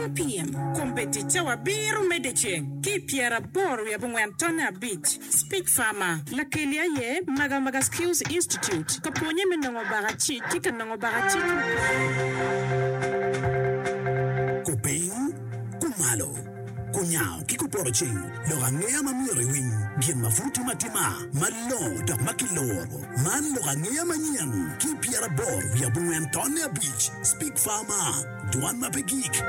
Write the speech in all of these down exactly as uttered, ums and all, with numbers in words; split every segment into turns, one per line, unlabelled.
one PM Kombeddi cawa abiro me dyeceng ki i pyeraboro wiye abongwen tonne abic Speak Farmer Lakeli aye Magamaga Skills Institute ka pwonye me nongo bakacic ki ka nongo bakacic
Kupiny, kumalo, kunyango ki kupoto ceng lok angeya ma myero iwiny gin ma pud timo atima malongo dok ma kiloro man lok angeya manyen ki pyeraboro wiye abongwen tonne abic Speak Farmer dwan ma pe gik.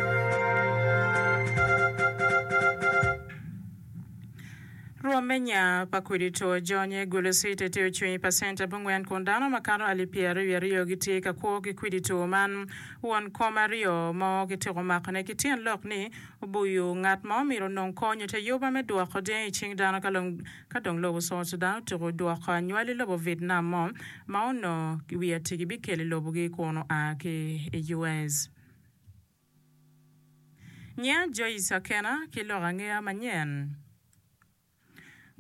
Rwom me nya pa kudi two jonye Gulu City tye ocung i pacent abongwen kun dano makato alip pyeraryo wiye aryo gitye ka kwo ki kwidi two man. Won kom aryo mo kityeko makone ki tyen lok ni obuyo ngat ma omyero onong kony ite yuba me dwoko dyangi i cing dano ka dong lobo South Sudan otyeko dwoko anywali lobo Vietnam mo ma onongo wiye atigi bikelo i lobogi kun oa ki i U S. Nya Joyce Akena ki lok angeya manyen.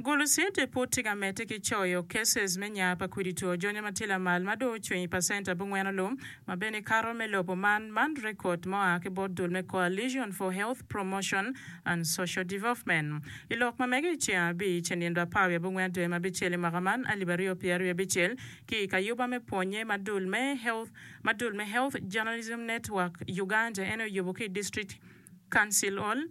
Gulu City pud tye ka medde ki coyo cases me nya pa kwidi two jonyo ma tye lamal ma dong ocung i pacent abongwen olum ma bene kato me lobo man man rekod ma oa ki bot dul me Coalition for Health Promotion and Social Development. I lok ma mege i ceng abic i nindo apar wiye abongwen dwe ma abicel i mwaka man alip aryo pyeraryo wiye abicel ki i kayuba me pwonye ma dul me Health ma dul me Health Journalism Network Uganda en oyubo ki i District Council Hall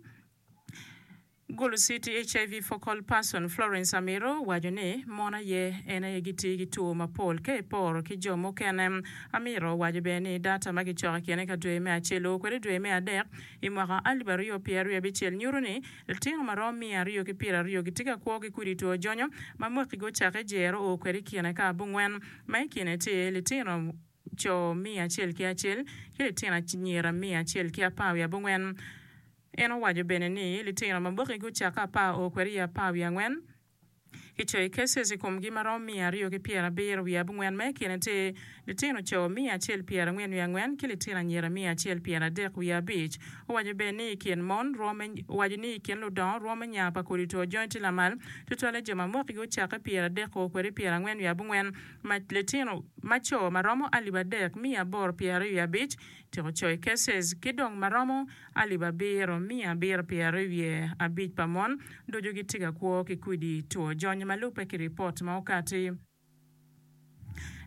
Gulu City H I V Focal Person Florence Amiro owaco ni mon aye en aye gitye ki two mapol ka iporo ki jo mukene. Amiro owaco bene ni data ma kicoko i kine ka dwe me acel o kwede dwe me adek i mwaka alip aryo pyeraryo abicel nyuto ni litino ma romo miya aryo ki pyeraryo gitye ka kwo ki kudi two jonyo ma mwaki gucake jero o kwede i kine ka abongwen ma i kine tye litino co miya acel ki acel ki litino anyira miya acel ki apar wiye abongwen. En owaco bene ni litino ma mwaki gucake apar o kwede i apar wiye angwen kicoyo cases i komgi ma romo miya aryo ki pyerabiro wiye abongwen ma i kine tye litino co miya acel pyerangwen wiye angwen ki litino anyira miya acel pyeradek wiye abic. Owaco bene ni i kin mon owaco ni i kin ludongo rwom me nya pa kodi two jonyo tye lamal tutwalle jo ma mwaki gucake pyeradek o kwede pyerangwen wiye abongwen ma litino ma co ma romo alip adek miya aboro pyeraryo wiye abic tyeko coyo cases ki dong ma romo alip abiro miya abiro pyeraryo wiye abic pa mon ducu gitye ka kwo ki kwidi two jonyo ma lubbe ki ripot ma okati.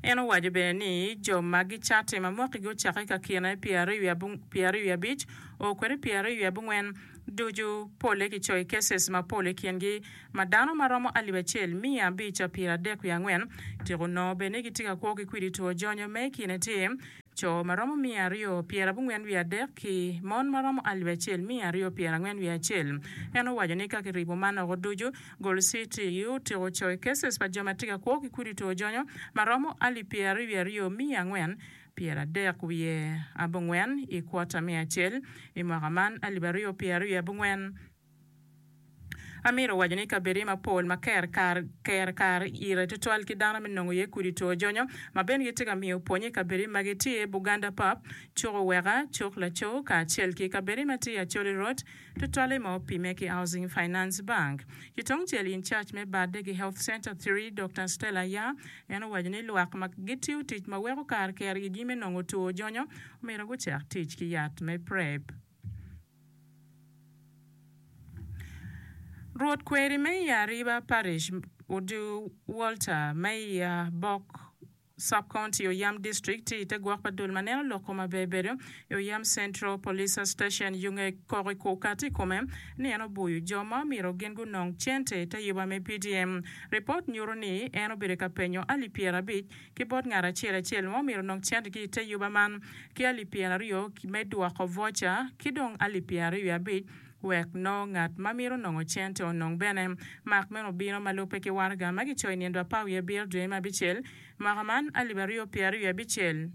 En owaco bene ni jo ma gicate ma mwaki gucake ka kine pyeraryo wiye abic o kwede pyeraryo wiye abongwen ducu polle kicoyo cases mapol i kingi ma dano ma romo alip acel miya abic pyeradek wiye angwen tyeko nongo bene ni gitye ka kwo ki kwidi two jonyo ma i kine tye co ma romo miya aryo pyerabongwen wiye adek ki mon ma romo alip acel miya aryo pyerangwen wiye acel. En owaco ni ka kiribo man oko ducu Gulu City otyeko coyo cases pa jo ma tye ka kwo ki kwidi two jonyo ma romo alip pyeraryo wiye aryo miya angwen pyeradek wiye abongwen i kwota me acel i mwaka man alip aryo pyeraryo wiye abongwen. Amiro owaco ni kabedi mapol ma ker kar ker kar ire tutwal ki dano me nongo iye kudi two jonyo ma bene gitye ka miyo pwonye i kabedi ma gitye Buganda Pub, Cuk Oweka, Cuk Laco kacel ki kabedi ma tye Acholi Road tutwalle ma opime ki Housing Finance Bank. Ki tungcel in charge me Badegi Health Center three Doctor Stella Ya en owaco ni lwak ma gitiyo tic ma weko kar ker igi me nongo two jonyo omyero gucak tic ki yat me PrEP. Rwot kweri me i Ariba Parish Odu Walter me i Abok Sub-County Oyam District tye i te gwok pa dul ma neno lok kom aber bedo i Oyam Central Police Station yunge koko okati i kome ni en obuyo jo ma omyero gin gunong cente i te yuba me P D M. Ripot nyuto ni en obedo ka penyo alip pyerabic ki bot ngat acel acel ma omyero onong cente ki i te yuba man ki alip pyeraryo me dwoko voca ki dong alip pyeraryo wiye abic wek nongo ngat ma mito nongo cente onong bene. Mak meno obino ma lubbe ki waraga ma kicoyo i nindo apar wiye abiro dwe me abicel mwaka man alip aryo pyeraryo wiye abicel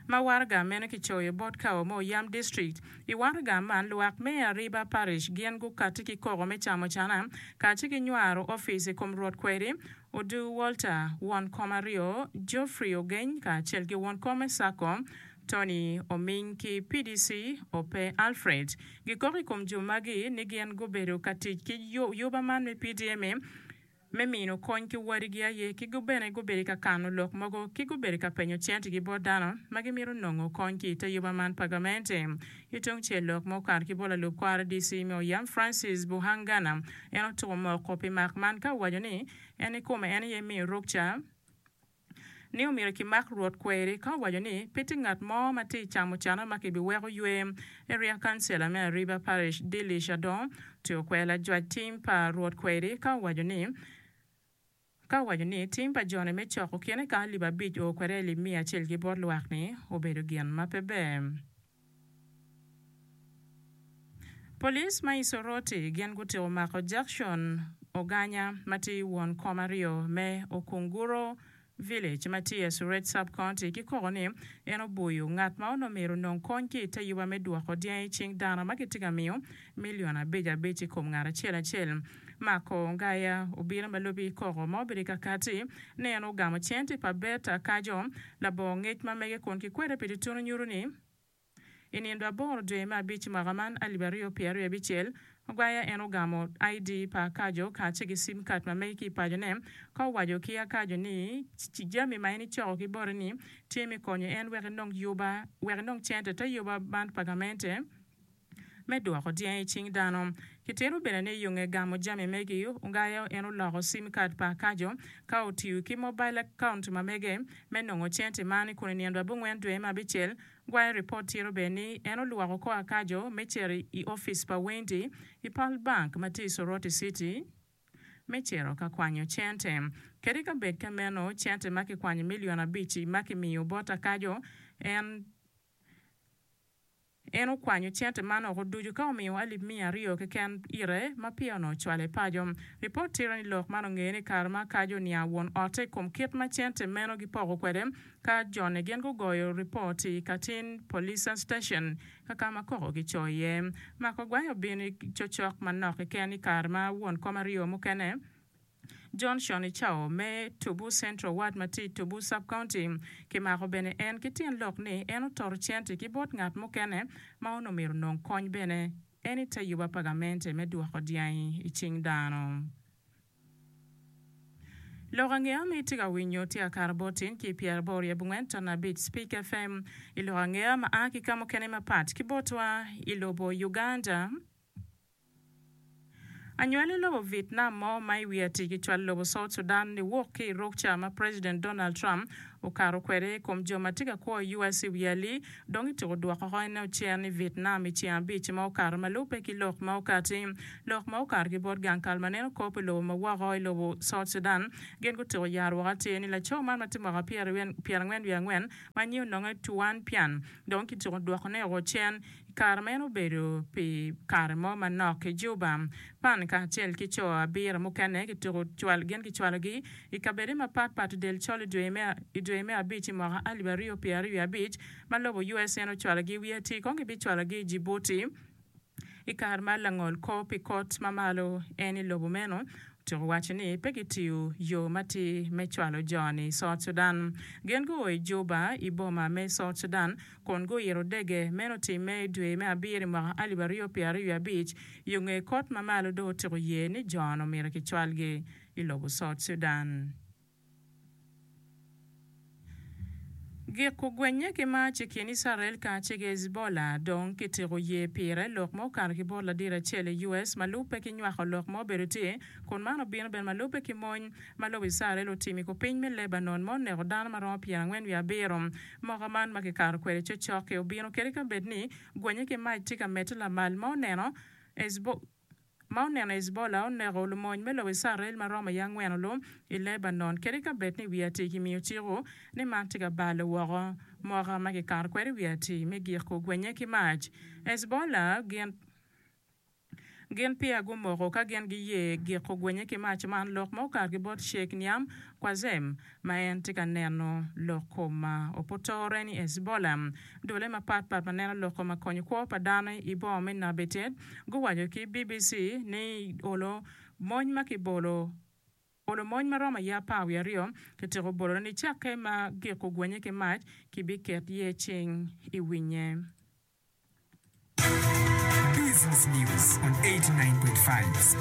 ma waraga meno kicoyo bot kawo me Oyam District. I waraga man lwak me Ariba Parish gin gukati ki koko me camo cana kacel ki nywaro opic i kom rwot kweri Odu Walter, won kom aryo Geoffrey Ogeny kacel ki won kom me Sacco Tony Oming ki P D C Ope Alfred. Gikoko i kom jo magi ni gin gubedo ka tic ki yuba man me P D M Me mino kony ki wadigi aye ki bene gubedo ka kano lok mogo ki gubedo ka penyo centigi bot dano ma gimito nongo kony ki i te yuba man pa gamente. Ki tungcel lok ma okato ki bot lalub kor R D C me Oyam Francis Buhangana en otuko moko pi mak man ka owaco ni en i kome en aye miyo rukca ni omyero kimak rwot kweri ka owaco ni pe tye ngat mo ma tye i camo cana ma kibiweko ywe. Area Councillor me Ariba Parish Dilish Adong otyeko kwero lajwac tim pa rwot kweri ka owaco ni ka owaco ni tim pa joni me coko kine ka alip abic o kwede alip miya acel ki bot lwak ni obedo gin ma pe ber. Police ma i Soroti gin gutyeko mako Jackson Oganya ma tye won kom aryo me Okunguro Village ma tye i Asuret Sub-County ki koko ni en obuyo ngat ma onongo myero onong kony ki i te yuba me dwoko dyangi i cing dano ma gitye ka miyo milion abic abic i kom ngat acel acel. Mako Ngaya obino ma lubi koko ma obedo ka kati ni en ogamo cente pa Bet Akajo labongo ngec ma mege kun kikwede pi tutunu nyuto ni i nindo aboro dwe me abic mwaka man alip aryo pyera aryo abicel Ogwaya en ogamo I D pa Akajo kacel ki sim card ma mege ki i pacone ka owaco ki Akajo ni jami ma en icoko ki bote ni tye me konyo en wek enong yuba wek enong cente te yuba man pa gamente me dwoko dyangi i cing dano. Kitito bene ni yonge gamo jami megi Ongaya en oloko sim card pa Akajo ka otiyo ki mobile account ma mege me nongo cente man kun i nindo abongwen dwe me abicel Gwayo ripot tito bene ni en olwoko kor Akajo me cito i opic pa Wendy i Pearl Bank ma tye i Soroti City me cito ka kwanyo cente. Kadi ka bed ka meno cente ma kikwanyo milion abic ma kimiyo bot Akajo en en okwanyo cente man oko ducu ka omiyo alip miya aryo keken ire ma peya onongo ocwalo i paco. Ripot tito ni lok man ongeye ni kare ma Akajo oniang won otte i kom kit ma cente meno gipoko kwede ka jone gin gugoyo ripot i Katin Police Station ka ka ma koko gicoyo iye. Mako Gwayo obino i cocok manok keken i kare ma won kom aryo mukene Johnson Icao me Tubu Central Ward ma tye i Tubu Sub-County kimako bene en ki tyen lok ni en ototo cente ki bot ngat mukene ma onongo myero onong kony bene en i te yuba pa gamente me dwoko dyangi i cing dano. Lok angeya ma itye ka winyo tye akato bot tin ki pyeraboro i abongwen ton abic Speak F M i lok angeya ma a ki ka mukene mapat ki botwa i lobo Uganda. Anywali lobo Vietnam mo ma i wi ati kicwalo lobo South Sudan ni wok ki i rukca ma President Donald Trump okato kwede i kom jo ma tye ka kwo i U S i wi ali dong ityeko dwoko ene ocen i Vietnam i ceng abic ma okato ma lubbe ki lok ma okati. Lok ma okato ki bot gang kal ma neno kop i lobo ma woko i lobo South Sudan gin gutyeko yaro woko atir ni laco man ma tye mwaka pyerangwen wiye angwen ma nyinge ononge Tuan Pian dong kityeko dwokone oko cen i kare ma en obedo pi kare mo manok i Juba. Pan kacel ki co abiro mukene kityeko gin kicwalogi i kabede mapatpat i del col i dwe me abic i mwaka alip aryo pyera aryo abic ma lobo U S en ocwalogi i wi ati kong gibicwalogi i Djibouti i kare ma langol kor pi kot ma malo en i lobo meno otyeko waco ni pe gitiyo yo matir me cwalo joni i South Sudan. Gin guo i Juba i boma me South Sudan kun guyito dege meno timme i dwe me abiro i mwaka alip aryo pyera aryo abic yo nge kot ma malo dong otyeko ye ni jono myero kicwalgi i lobo South Sudan. Giko gwenye ki mac i kin Israel kacel ki Hezbollah dong kityeko ye pire lok ma okato ki bot ladit acel i U S ma lubbe ki nywako lok ma obedo tye kun man obino bene ma lubbe ki mony ma lobo Israel otimo i kupiny me Lebanon ma oneko dano ma romo pyerangwen wiye abiro. Moko man ma kikato kwede cocok-ki obino kadi ka bed ni gwenye ki mac tye ka medde lamal ma oneno ma oneno Hezbollah oneko lumony me lobo Israel ma romo i angwen olu i Lebanon kadi ka bed ni wi ati kimiyo ciko ni man tye ka balo woko moka ma kikato kwede wi ati me giko gwenye ki mac. Hezbollah gin gin peya gumoko ka gin giye giko gwenye ki mac man lok ma okato ki bot Sheikh Naim Qassem ma en tye ka neno lok kom opotore ni Hezbollah dule mapatpat ma neno lok kom akonyo kwo pa dano i boma me Nabatieh guwaco ki B B C ni olo mony ma kibolo olo mony ma romo aye apar wiye aryo kityeko bolone ni cakke ma giko gwenye ki mac kibiket ye cing i winye.
Business News on eighty-nine point five.